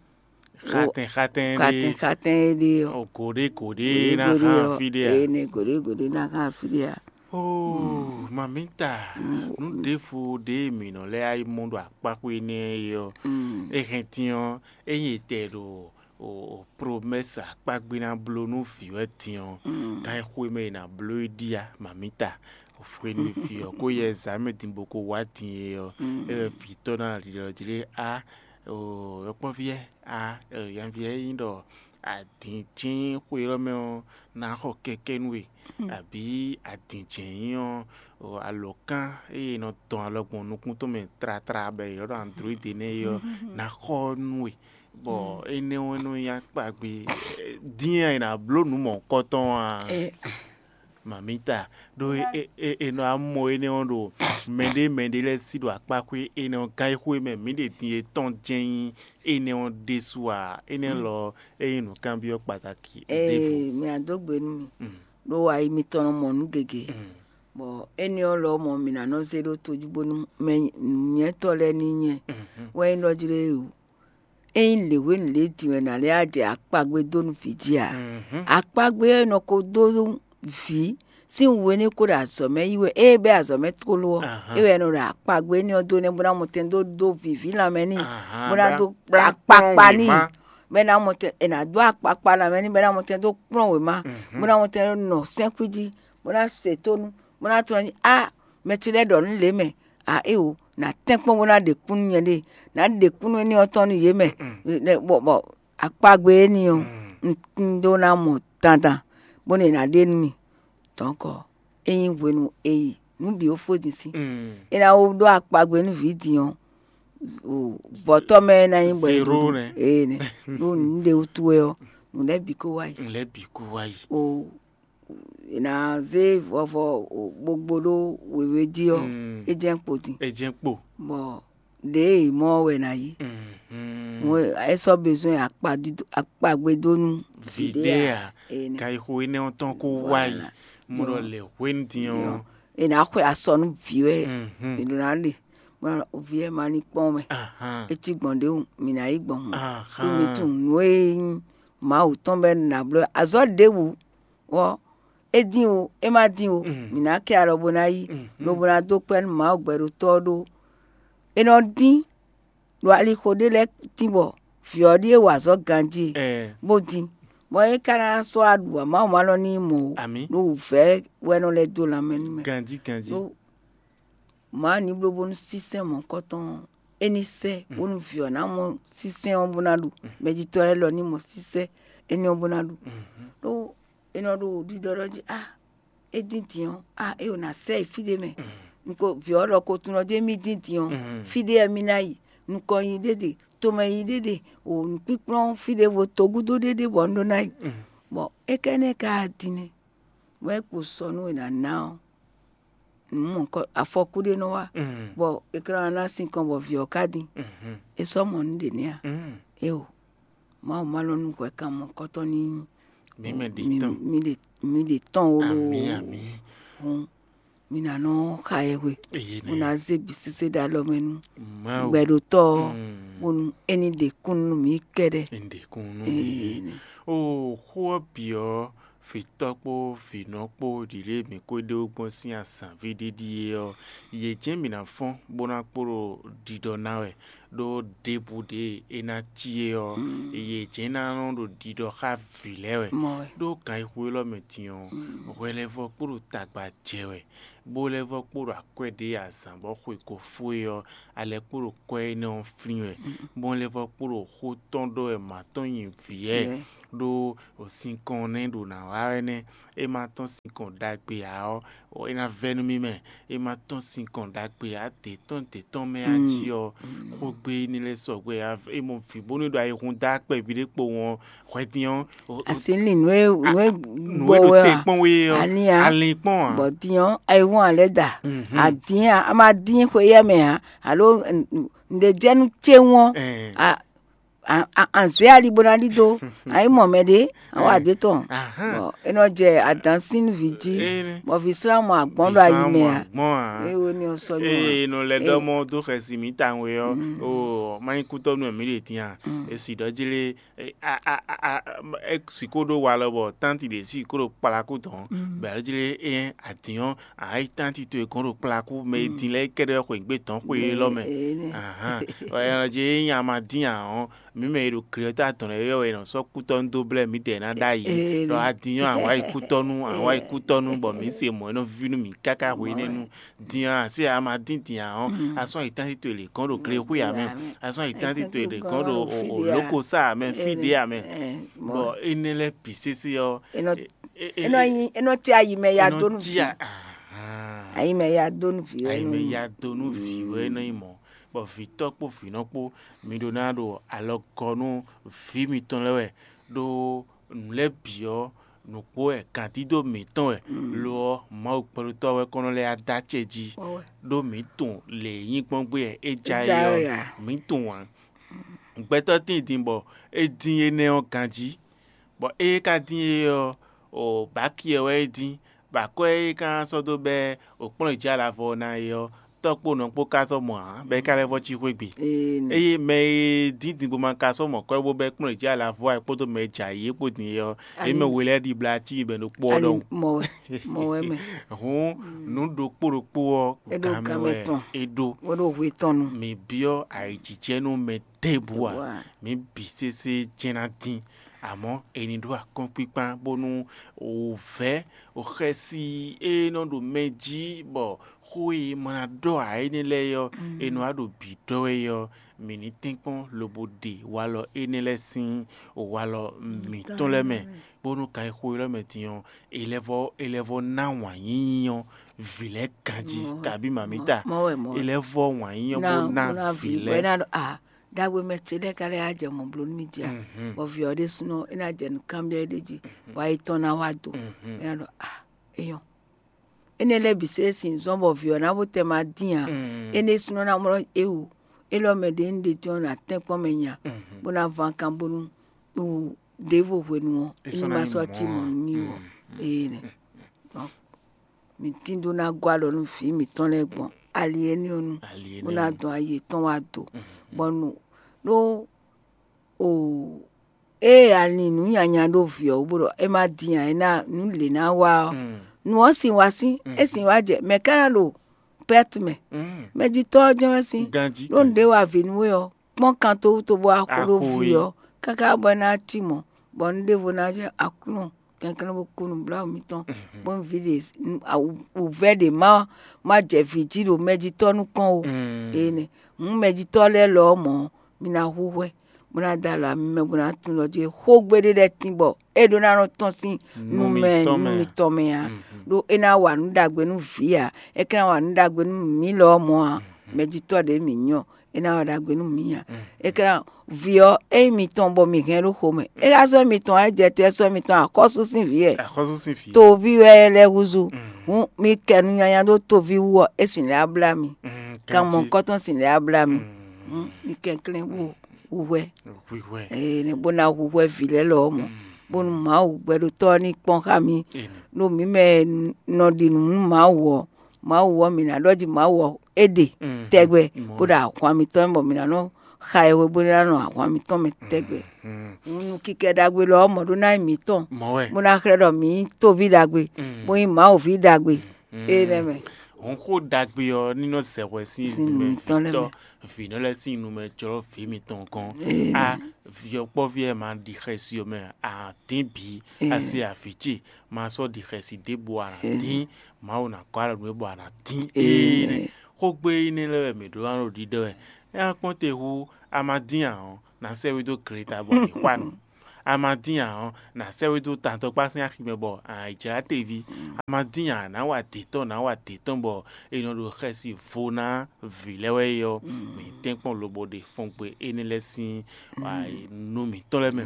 Xatɛn xatɛn xatɛn ɖé. Xatɛn é ɖe ɔ́, O gǒɖé gǒɖé ná gǒɖé hán ɔ́, fí ɖé a? Ene gǒɖé gǒɖé ná hán fí ɖé a? Oh, mamita, Mm. Nǔ ɖěvo ɖě mǐ nɔ lɛ́ yi mɔ ɖo akpáxwé énɛ́ é ɔ́, Mm. É hɛn din ɔ́, ényí è tɛ ɖo o o promɛ́si akpágbé ná bló nú vǐ wɛ din ɔ́, Mm. Kan e xwé mɛ è nǎ bló é ɖíe a, mamita? Hwenu e vǐ ɔ́ ko yɛ zǎmɛ din bó ko wá din é ɔ́, Mm. É wɛ vǐ tɔn ná ɖiɖɔ jí lé á, o yɔkpɔ́ví ɛ, á, nyaví ɛ nyí ɖɔ adǐn jɛ́n xwe élɔ́ mɛ ɔ́ ná xɔ kɛkɛ́ nú we, abǐ adǐn jɛ́n nyí ɔ́, alɔ̌kán e è nɔ dɔn alɔ gbɔn nukún tɔn mɛ tlátla bɔ è ylɔ́ ɖɔ android énɛ́ é ɔ́ ná xɔ nú we, bɔ énɛ́ ɔ́ nɔ nyí akpagbe. Dín a è nǎ bló nǔ mɔ̌hunkɔtɔn a? Mamita, ɖó è nɔ amɔ énɛ́ ɔ́ ɖo mɛɖé mɛɖé lɛ́ɛ sí ɖo akpáxwé énɛ́ ɔ́ gán e xwé mɛ mǐ ɖe din e tɔn jɛ́n nyí énɛ́ ɔ́ ɖésú ǎ. Énɛ́ lɔ ɔ́, é nyí nǔkanbyɔ́ kpataki ɖěvo. Ee, mi a dó gbe nú mi, ɖó ayi mitɔn nɔ mɔ nǔ gěgé, bɔ énɛ́ ɔ́ lɔ mɔ mǐ ná nɔ zé ɖó tojí bónú mɛ nǔnywɛ́tɔ́ lɛ́ɛ ní nyɛ wɛ nyí ɖɔ jí ɖé o. Ényí lěhwenu lě din wɛ nǎ lɛ́ wá jɛ akpagbe dó nú vǐ jí a? Akpagbe ɔ́ è nɔ ko dó nú vǐ sín hwenu e é ko ɖo azɔ̌ mɛ yi wɛ, ée bɛ́ azɔ̌ mɛ tlóló ɔ́, é wɛ è nɔ ɖo akpagbe énɛ́ ɔ́ dó nɛ́ bó ná mɔtɛn dó dó vǐví lanmɛ n'i, bó ná dó akpakpa n'i, bɔ é ná mɔtɛn è nǎ dó akpakpa lanmɛ n'i, bɔ é ná mɔtɛn dó kplɔ́n wěma, bó ná mɔtɛn dó nɔ sɛ́nxwí jí, bó ná se tónú, bó ná tlɔ́n jí á, mɛ ce lɛ́ɛ ɖɔ nǔ lě mɛ, a éwo, nǎ tɛ́nkpɔ́n bó ná ɖe kú nú nyɛɖée, nǎ ɖe kú nú énɛ́ ɔ́ tɔn nú yě mɛ, bɔ bɔ akpagbe énɛ́ ɔ́, un un ɖó ná mɔ dandan, bónú è nǎ ɖe nú mì. Dɔ̌nkɔ, é nyí hwenu e yi nǔ bǐ ó fó din sín. É ná wó ɖó akpagbe nú vǐ din ɔ́, bɔ̌tɔ́ mɛ é ná nyí bɔ è Zéro ɖuɖu nɛ́. Ee nɛ́, ɖó nǔ ɖé wútu wɛ ɔ́, nǔ lɛ́ɛ bǐ kó wá yi. Nǔ lɛ́ɛ bǐ kó wá yi. O è nǎ zé vɔvɔ ɓogbo ɖó wěwé jí ɔ́, Mm. É jɛ́n kpo din. É jɛ́n kpo. Bɔ ɖěe è mɔ ɔ́ wɛ è nǎ yí. Mhm. Mɔ̌ é sɔ́ bezɔn akpagbe dó nú Vǐ ɖé a? Ee nɛ́. Ka yi xo énɛ́ ɔ́ tɔn kó wá yi. Voilà. Mo ɖɔ lɛ hwenu din ɔ́. È nǎ xwe asɔ nú vǐ wɛ. Mhm. È nɔ ná ɖe. Bɔ vǐ wɛ ma ní kpɔ́n mɛ. Ahan. É cí gbɔn ɖěvo, mǐ ná yí gbɔn hǔn. Ahan. Ɖó mi tunwun nǔ e nyí Mawu tɔn bɔ é nɔ ná bló azɔ̌ ɖěbǔ ɔ́, é dín o, é má dín o, mǐ ná kɛ alɔ bó ná yí, lobo ná dó kpɛ́ nú Mawu gbɛɖotɔ́ ɔ́ ɖó. È nɔ dín ɖo alixo ɖé lɛ́ɛ tín bɔ vǐ ɔ́ ɖíe wa azɔ̌ ganjí e, bó dín, bɔ é ka ná sɔ́ wá ɖu ǎ, Mawu ma nɔ ní mɔ o, Amǐ. Ɖó wǔvɛ́ wɛ nɔ lɛ́ dó lanmɛ nú mɛ. Ganjí ganjí. Ɖó Mawu ní bló bónú sínsɛ́n mɔ̌hunkɔtɔn ɔ́, é ní sɛ́ bónú vǐ ɔ́ ná mɔ sínsɛ́n ɔ́ bó ná ɖu, mɛjitɔ́ lɛ́ɛ lɔ ní mɔ sínsɛ́n énɛ́ ɔ́ bó ná ɖu. Ɖó è nɔ ɖo ɖiɖɔ ɖɔ jí a, é dín din ɔ́, a é ò nǎ sɛ yi fí ɖé mɛ. Un ko vǐ ɔ́ ɖɔ ko tunɔ jí émí dín din ɔ́, fí ɖé wɛ mí ná yi, nukɔn yi ɖé ɖe, tomɛ yi ɖé ɖe, o nǔkpíkplɔ́n fí ɖěvo togúdo ɖé ɖe bɔ un ɖó ná yi. Bɔ é ka énɛ́ ka din nɛ́, bɔ é kpo sɔ nú è nǎ ná ɔ́, nǔ mɔ̌hunkɔ afɔkú ɖé nɔ wá, bɔ è ka ná ná sinkɔn bɔ vǐ ɔ́ ka dín. É sɔ́ mɔ nǔ ɖě nɛ́ a? Éwo, Mawu ma nɔ nú hwɛ kan mɔ̌hunkɔtɔn ní Mǐ mɛ ɖě tɔn. Mí ɖě tɔn ó loo. Amǐ, amǐ. Hǔn mí ná nɔ xa yɛhwe, Eye bó nɛ́. Ná zé bǐ sésé ɖó alɔ mɛ nú Mawu. Gbɛɖotɔ́ ɔ́, Mm. Bónú é ní ɖe kúnnu nú mǐ kɛ́ɖɛ́. Ní ɖe kúnnu nú Ee, mǐ. Nɛ. O xó ɔ́ bǐ ɔ́, vǐtɔ́ kpó vǐnɔ kpó ɖǐɖé mǐ ko ɖe wú gbɔn sín azǎnví ɖé ɖíe ɔ́, yě jɛ́n mǐ ná fɔ́n bó ná kpo ɖo ɖiɖɔ ná wɛ, ɖó ɖěbǔ ɖě e é ná cí é ɔ́, yě jɛ́n ná nɔ ɖo ɖiɖɔ xá vǐ lɛ́ɛ wɛ. Mɔ wɛ. Ɖó gan e xo élɔ́ mɛ din ɔ́, hwɛ lɛ́ɛ vɔ kpo ɖo tagba jɛ wɛ, bó lɛ́ vɔ kpo ɖo akwɛ́ ɖě azǎn bɔ xwe ko fó é ɔ́, a lɛ́ kpo ɖo kwɛ́ énɛ́ ɔ́ flín wɛ, bó lɛ́ vɔ kpo ɖo xó tɔn ɖɔ wɛ mǎ tɔn nyi vǐ wɛ. Vǐ wɛ. ɖó sinkɔn nɛ́ ɖo nǎ wa wɛ nɛ́. É ma tɔ́n sinkɔn ɖagbe ǎ ɔ́, é ná vɛ́ nú mì mɛ. É ma tɔ́n sinkɔn ɖagbe ǎ, dě tɔn dě tɔn mɛ a jí ɔ́, xógbe énɛ́ lɛ́ɛ sɔgbe ǎ. É mɔ vǐ bónú é ɖo ayihún dá kpɛví ɖé kpowun ɔ́, hwɛdín ɔ́, Asi lin nǔ e nǔ e nǔ gbɔ e ɖo wɛ te a? Kpɔ́n we ɔ́, Ani a? Alin kpɔ́n ǎ. Bɔ din ɔ́, ayihún a lɛ́ da. Mhm. Adin a, a ma dín xwe yɛ mɛ ǎ, alo nǔɖé jɛ nú céwún ɔ́, Ɛɛ. A- a- a- anzɛ́ ali bó ná ɖidó. Ayi mɔ mɛ ɖé, awɔ adé tɔn. Ahán. Bɔ é nɔ jɛ adǎn sín vǐ jí. Énɛ́. Bɔ vǐ slá mɔ agbɔn ɖo ayi mɛ a? Gbɔn a? É wo ní ɔ sɔ nyɔ a? Eye nɔ lɛ ɖɔ mɔ dó xɛsi mǐ tawun e ɔ́, o má nyí kútɔ́ nú mǐ ɖe din a? Esi ɖɔ jí lé, e- a- a- a- a- e sǐ kó ɖó walɔ bɔ tánti ɖě sǐ kó ɖo kplakú tɔn, bɛ alo jí lé é adǐn ɔ́, a yi tánti towe gɔ́n ɖo kplakú mɛ e din lɛ́ɛ kɛ́ɖɛ́ xweyǐgbe tɔn xwe élɔ́ mɛ. Ahán. Ɔ, ɛ nɔ jɛ é nyí a ma dín ǎ ɔ́, mǐ mɛ e ɖo glɛ́ta tɔn lɛ́ɛ ɔ́, è nɔ sɔ́ kútɔ́ nú dó blɛ́ mǐdɛɛ ná ɖ'ayǐ. Ɖɔ a din ɔ́, a wǎ yi kútɔ́ nú, a wǎ yi kútɔ́ nú, bɔ mǐ se mɔ̌ é nɔ ví nú mǐ káká hwenɛ́nu. Din ɔ́, a se a ma dín din ǎ ɔ́, a sɔ́ yi tánti towe lě gɔ́n ɖo glexwé ǎ mɛ. A sɔ́ yi tánti towe lě gɔ́n ɖo lókosá ǎ mɛ, fí ɖé ǎ mɛ. Bɔ énɛ́ lɛ́ɛ bǐ sésé ɔ́, Enɔ enɔ nyi enɔ tí ayi mɛ ya dó nú vi. Ayi mɛ ya dó nú vi. Ayi mɛ ya dó nú vi wɛ nɔ nyi mɔ̌, bɔ vǐtɔ́ kpó vǐnɔ kpó mi ɖó ná ɖo alɔ gɔ́ nú vǐ mitɔn lɛ́ɛ wɛ, ɖó nǔ lɛ́ɛ bǐ ɔ́, nǔkpó wɛ gǎndídó mǐtɔn wɛ. Lo ɔ́, Mawu kpɛɖotɔ́ wɛ kɔn nɔ lɛ́ adó acɛ jí, ɖó mǐ tunwun lě e nyí gbɔn gbé wɛ é ja é ɔ́, mǐ tunwun ǎ. Gbɛtɔ́ tíin din bɔ é dín énɛ́ ɔ́ ganjí, bɔ ée ka dín é ɔ́, o bǎki ɔ́ wɛ é dín, bɔ akwɛ́ e ka sɔ́ dó bɛ́ o kplɔ́n jǐ alavɔ ná é ɔ́, tɔ́ kpó nɔ kpó ka sɔ́ mɔ ǎ, bɔ é ka lɛ́ vɔ́ cí xwé gbe. Eye mɛ e dín din bó ma ka sɔ́ mɔ kɔ́ bó bɛ́ kplɔ́n jǐ alavɔ ɛ kpódó mɛ e jɛ ayǐ é kpó din é ɔ́, é mɛ we lɛ́ɛ ɖibla cí bɛ ɖokpó ɔ́ ɖɔhun. Mɔ wɛ mɛ. Hǔn nǔ ɖokpó ɖokpó ɔ́, gan mɛ wɛ é ɖó. Wɛ ɖo hwe tɔn nu. Mǐ byɔ́ ayǐjijɛ nú mɛ ɖěbǔ ǎ. Mǐ bǐ sésé jɛ́n ná dín, amɔ̌ è ní ɖó akɔ́nkpíkpán bónú wǔvɛ́ xɛsi e nɔ ɖo mɛ jí bɔ xó e ma ná ɖɔ ǎ énɛ́ lɛ́ɛ ɔ́, è nɔ wá ɖo bǐ ɖɔ wɛ ɔ́, mǐ ní tɛ́nkpɔ́n lobo ɖe walɔ énɛ́ lɛ́ɛ sín walɔ mǐtɔn lɛ́ɛ mɛ, bónú kan e xo élɔ́ mɛ din ɔ́, è lɛ́ vɔ è lɛ́ vɔ ná wǎn yíyí ɔ́ vǐ lɛ́ɛ ganjí, kabí mamǐta. È lɛ́ vɔ wǎn yíyí ɔ́ bó ná vǐ lɛ́ɛ. Ɖagbe mɛ ce lɛ́ɛ ka lɛ́ yá jɛ mɔ̌ bló nú mì jí a? Bɔ vǐ ɔ́ ɖésúnɔ é ná jɛ nǔ kanbyɔ́ é ɖé jí, bɔ ayi tɔn ná wá do. É ná ɖɔ a, é nyɔ́. Énɛ́ lɛ́ɛ bǐ se é sin zɔ́n bɔ vǐ ɔ́ ná bó tɛ ma dín ǎ. Énɛ́ súnɔ ná mlɔ́ é wú. Élɔ́ mɛ ɖě un ɖe tɔ́n ná tɛ́nkpɔ́n mɛ nya, bó ná van kan bónú wú ɖěvo hwenu ɔ́, é ní ma sɔ́ cí mɔ̌ nú mì wɔ. Ee nɛ. Mǐ tín dó ná gɔ́ alɔ nú vǐ mǐtɔn lɛ́ɛ gbɔn ali énɛ́ ɔ́ nu, bó ná dɔn ayi yětɔn wá do, bɔ nu ɖó o ée a lin nǔ nyanya ɖó vǐ ɔ́ wú bó ɖɔ é má dín ǎ, é ná nǔ lě ná wá ɔ́, nu ɔ́ sin wá sín, é sin wá jɛ mɛ̌ ka ná ɖo pɛ́t mɛ? Mɛjitɔ́ ɔ́ jɛ́n wɛ sín. Ɖó nǔɖé wa vǐ nú we ɔ́, kpɔ́n kan tó wú tó bó wá xo ɖó vǐ ɔ́, káká bɔ é ná cí mɔ̌, bɔ nǔ ɖěvo ná jɛ Aklúnɔ kɛnklɛ́n bó kú nǔbláwǔ mitɔn, bónú vǐ ɖe wǔvɛ́ ɖě má má jɛ vǐ jí ɖo mɛjitɔ́ nukɔn ó. Énɛ́ hǔn mɛjitɔ́ lɛ́ɛ lɔ ɔ́ mɔ̌, mi ná hu hwɛ, bó ná da alɔ ami mɛ, bó ná tunwun ɖɔ jí xógbe ɖé lɛ́ɛ tín bɔ é ɖó ná nɔ tɔ́n sín nú mɛ nú mitɔn mɛ ǎ, ɖó é ná wa nǔ ɖagbe nú vǐ ǎ, é ka ná wa nǔ ɖagbe nú mǐ lɔ ɔ́ mɔ̌ ǎ. Mɛjitɔ́ ɖě mǐ nyí ɔ́, é ná wa ɖagbe nú mǐ ǎ. É ka ná vǐ ɔ́, ényí mitɔn bɔ mǐ hɛn ɖó xomɛ, é ka sɔ́ mitɔn wá jɛ te ɔ́ sɔ́ mitɔn axɔ́sú sín vǐ wɛ. Axɔ́sú sín vǐ. Toví wɛ é lɛ́ húzú. Hǔn mi kɛ nǔ nyanya ɖó toví wú ɔ́, é sin lɛ́ á blá mi. Kan mɔ̌hunkɔtɔn sin lɛ́ á blá mi. Hǔn mi kɛnklɛ́n bó hu hwɛ. Hu hwɛ. Ee, bó ná hu hwɛ vǐ lɛ́ɛ lɔ ɔ́ mɔ, bónú Mawu gbɛɖotɔ́ ɔ́ ní kpɔ́n xá mi. Ɖó mǐ mɛ nɔ ɖi nǔ nú Mawu ɔ́, Mawu ɔ́, mǐ ná ɖɔ jí Mawu ɔ́ é ɖe tɛgbɛ, bó ɖo ahwan mitɔn mɛ bɔ mǐ ná nɔ xa ɛ hwe bó ná nɔ ahwan mitɔn mɛ tɛgbɛ. Nú kíkɛ ɖagbe lɔ ɔ́ mɔ ɖó ná nyí mǐtɔn, bó ná xlɛ́ ɖɔ mǐ nyí tóví ɖagbe, bó nyí Mawuví ɖagbe. Énɛ́ mɛ. Hǔn xó ɖagbe ɔ́ ní nɔ zɛ hwɛ sín Sín nǔ mǐtɔn lɛ́ɛ mɛ. Vǐnɔ lɛ́ɛ sín nu mɛ jlɔ́ vǐ mitɔn gɔ́n. Ee. A vǐ ɔ́ kpɔ́ví wɛ ma ɖi xɛsi ɔ́ mɛ, a dín bǐ, a se avǐ ce, ma sɔ́ ɖi xɛsi ɖěbǔ a nǎ dín, Mawu ná gɔ́ alɔ nú we bɔ a nǎ dín. Ee. Xógbe énɛ́ lɛ́ɛ wɛ mǐ ɖó ná ɖo ɖiɖɔ wɛ. É ná kpɔ́n te hú a ma dín ǎ ɔ́, ná sɛ́ we dó gleta bɔ a nǐ xwa nǔ. A ma dín ǎ ɔ́, nǎ sɛ́ we dó tantɔkpá sín axi mɛ bɔ a nǎ yi jlá teví. A ma dín ǎ, nǎ wa dě tɔn, nǎ wa dě tɔn bɔ è nɔ ɖo xɛsi vo ná vǐ lɛ́ɛ wɛ é ɔ́, mǐ tɛ́nkpɔ́n lobo ɖe fɔngbe énɛ́ lɛ́ɛ sín nú mǐtɔn lɛ́ɛ mɛ,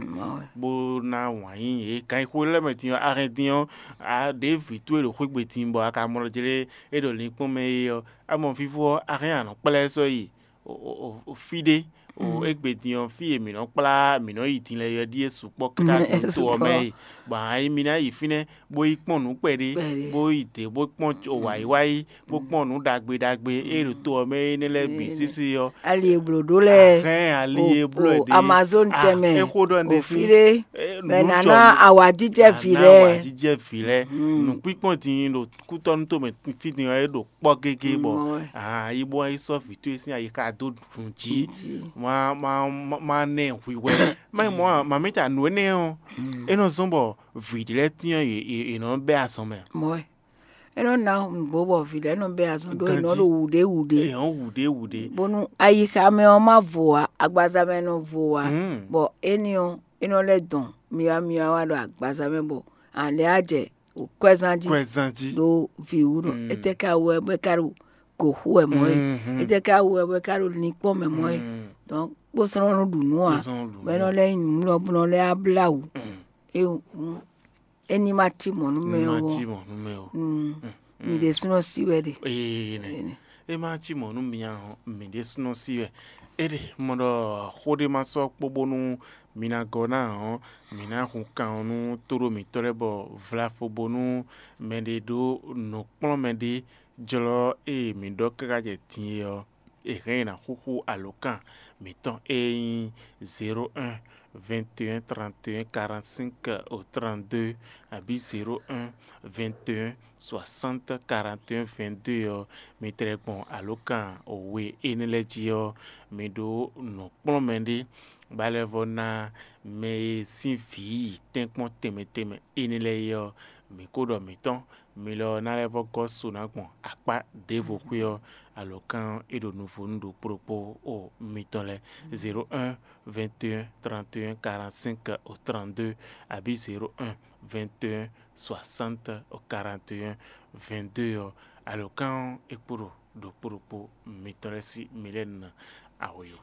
bó ná wǎn yí yě. Kan yi xwe lɛ́ɛ mɛ din ɔ́, a hɛn din ɔ́, a ɖě vǐ towe ɖo xwé gbe din bɔ a ka mlɔ́ jlé é ɖo linkpɔ́n mɛ é ɔ́, a mɔ fífó ɔ́, a hɛn anɔ kplá ɛ sɔ́ yi fí ɖé. O égbé din ɔ́, fí e mǐ nɔ kplá mǐ nɔ yi din lɛ́ɛ ɔ́ ɖíe sukpɔ́ káká to ɔ́ mɛ e. Bɔ a nyí mi ná yi fínɛ́ bó yi kpɔ́n nǔ kpɛɖé, bó yi dě bó kpɔ́n wǎyíwáyí, bó kpɔ́n nǔ ɖagbe ɖagbe e ɖo to ɔ́ mɛ énɛ́ lɛ́ɛ bǐ sésé ɔ́. Ali e blǒ ɖó lɛ́ɛ, hɛn ali e bló ɛ ɖe. Amazon tɛnmɛ, é xó ɖɔ ne fí ɖé, mɛ nǎ ná awǎjijɛ vǐ lɛ́ɛ. Awǎjijɛ vǐ lɛ́ɛ. Nǔkpíkpɔ́n din ɖo kútɔ́nú tomɛ fí din ɔ́, é ɖo kpɔ́ gégé bɔ aa yi bó yi sɔ́ vǐ towe sín ayixa dó nǔ jí. Má má má nɛ hwihwɛ. Má yi mɔ mamí ta nǔ énɛ́ ɔ́, é nɔ zɔ́n bɔ vǐ ɖé lɛ́ɛ tín ɔ́, yě nɔ bɛ́ azɔn mɛ. Mɔ̌ wɛ. É nɔ ná nǔgbó bɔ vǐ lɛ́ɛ nɔ bɛ́ azɔn ɖó è nɔ ɖo wǔɖé wǔɖé. È nɔ wǔɖé wǔɖé. Bónú ayixa mɛ ɔ́ má vo ǎ, agbaza mɛ nɔ vo ǎ, bɔ éní ɔ́, é nɔ lɛ́ dɔn myɔwa myɔwa wá ɖo agbaza mɛ bɔ a lɛ́ á jɛ kwɛzán jí. Kwɛzán jí. Ɖo vǐ wú nɔ. Étɛ́ ka wú wɛ bɔ é ka ɖo gǒ xú wɛ mɔ̌ é? Étɛ́ ka wú wɛ bɔ é ka ɖo linkpɔ́n mɛ mɔ̌ é? Donc kpó slɔ́n nú ɖu nǔ ǎ, bɔ é nɔ lɛ́ nyí nǔ lɔ bó nɔ lɛ́ á blá wǔ. É hǔn é ní ma cí mɔ̌ nú mɛ ó. Cí mɔ̌ nú mɛ ó. Mi ɖésúnɔ sí wɛ ɖe. Ee nɛ. É má cí mɔ̌ nú mi ǎ ɔ́, mi ɖésúnɔ sí wɛ. É ɖe mɔ ɖɔ xó ɖé ma sɔ́ kpó bónú mi ná gɔ́ ná ǎ ɔ́, mǐ ná hun kan ɔ́ nú tóɖó mǐtɔn lɛ́ɛ bɔ vlafo bónú mɛɖé ɖó nǔkplɔ́nmɛ ɖé jlɔ́ e mǐ ɖɔ káká jɛ din é ɔ́, è hɛn ɛ ná xúxú alǒkan mǐtɔn e nyí zéro un, vingt et un, trente et un, quarante-cinq au trente-deux, abǐ zéro un, vingt et un, soixante, quarante et un, vingt-deux ɔ́, mi tlɛ gbɔn alǒkan we énɛ́ lɛ́ɛ jí ɔ́, mi ɖó nǔkplɔ́nmɛ ɖé bó lɛ́ vɔ́ ná mɛ e sín vǐ yi tɛ́nkpɔ́n tɛnmɛ tɛnmɛ énɛ́ lɛ́ɛ é ɔ́, mǐ ko ɖɔ mǐtɔn, mi lɔ ná lɛ́ vɔ́ gɔ́ so ná gbɔn akpá ɖěvo xwé ɔ́, alǒkan ɔ́, é ɖo nuvo nú ɖokpó ɖokpó o mitɔn lɛ́ɛ. Zéro un, vingt et un, trente et un, quarante-cinq au trente-deux, abǐ zéro un, vingt et un, soixante au quarante et un, vingt-deux ɔ́, alǒkan ɔ́, é kpo ɖo ɖokpó ɖokpó mitɔn lɛ́ɛ sí mi lɛ́ɛ nɔ awoyo.